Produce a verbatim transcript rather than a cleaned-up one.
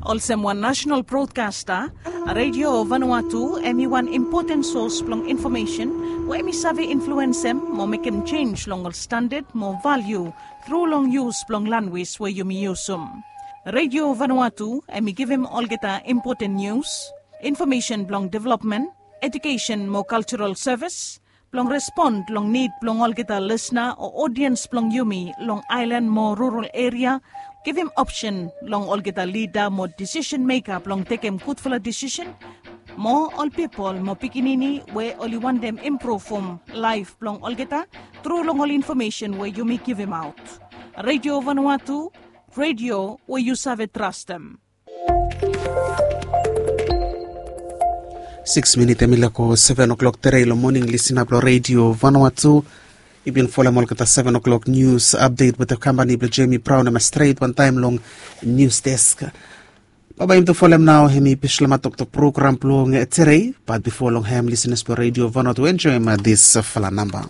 Olsem wan national broadcaster, Radio Vanuatu em i wan impoten sos blong infomesen we em i save influensem mo mekem jenj long ol standad mo valiu tru long yus blong lanwis we yumi yusum. Radio Vanuatu em i givim olgeta impoten nius, infomesen blong developmen, edukesen mo kaltural sevis, blong respon long nid blong olgeta lisna o odiens blong yumi long aelan mo rural eria, givim opsen long olgeta lida mo disisen meka blong tekem gudfala disisen, mo ol pipol mo pikinini we oli wantem impruvum laef blong olgeta tru long ol infomesen we yumi givimaot. Radio Vanuatu, radio we yu save trastem. Siks minit em i lako seven o'clock tere long moning, lisin ap long Radio Vanuatu. I bin folem olgeta seven o'clock nius apdet wetem kampani blong Jemi Braun em stret wantaem long nius desk. Baba yumi tu folem nao em i Bislama Toktok program blong tere. Bat bifo long hem, lisinas blong Radio Vanuatu, enjoem disfala namba.